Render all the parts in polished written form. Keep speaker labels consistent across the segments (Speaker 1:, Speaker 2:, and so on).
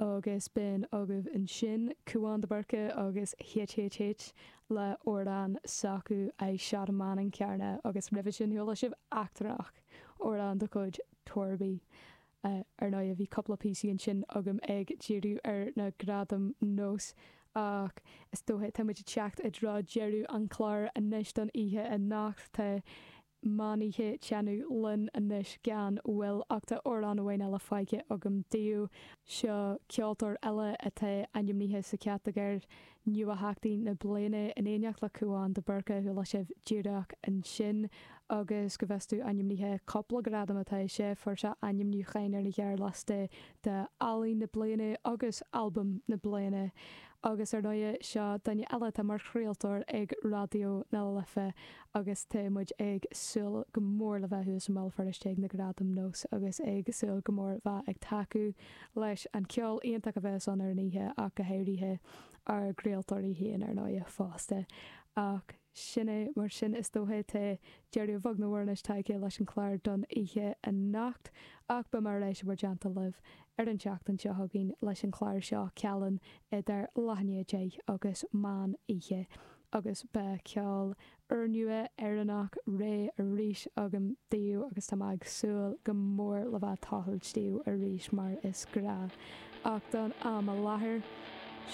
Speaker 1: Agus b'in agaibh ansin Cúán de Búrca agus HHH le amhrán s'acu I Shot a Man in Carna agus roimhe sin chuala sibh Eachtrannach, amhrán de chuid Torby. Ar ndóigh bhí cúpla píosaí ansin agam ag díriú ar na Gradaim Nós ach is dócha tá muid ag teacht i dtreo deireadh an chláir anois don oíche anocht. Tá meán oíche ag teannadh linn anois gan mhoill ach tá amhrán amháin eile fágtha agam daoibh. Seo ceoltóir eile atá ainmnithe sa chatagóir Nuatheachtaí na Bliana in éineacht le Cúán de Búrca a chuala sibh díreach ansin agus go bhfios domh ainmnithe cúpla gradam atá sé. Fuair sé ainmniúcháin ar an ghearrliosta do Ealaín na Bliana agus Albam na Bliana. Agus ar ndóighe seo duine eile atá mar chraoltóir ag Raidió na Life agus tá muid ag súil go mór le bheith thuas i mBéal Feirste ag na Gradaim Nós agus ag súil go mór bheith ag tacú leis an ceol iontach a bheas ann ar an oíche ach go háirithe ár gcraoltóirí féin ar ndóighe fosta. Ach sin é mar sin is dócha tá deireadh bheag nó mhór anois tagtha leis an chlár don oíche anocht ach beidh mé ar ais i bhur dteannta libh ar an tseachtain seo chugainn leis an chlár seo Cealann idir leath i ndiaidh 10 agus meán oíche agus beidh ceol úrnua Éireannach réidh arís agam daoibh agus tá mé ag súil go mór le bheith ag tochailt daoibh arís mar is gnáth. Ach don am i láthair,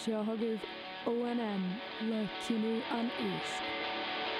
Speaker 1: seo chugaibh ONM le Cinneadh an Éisc.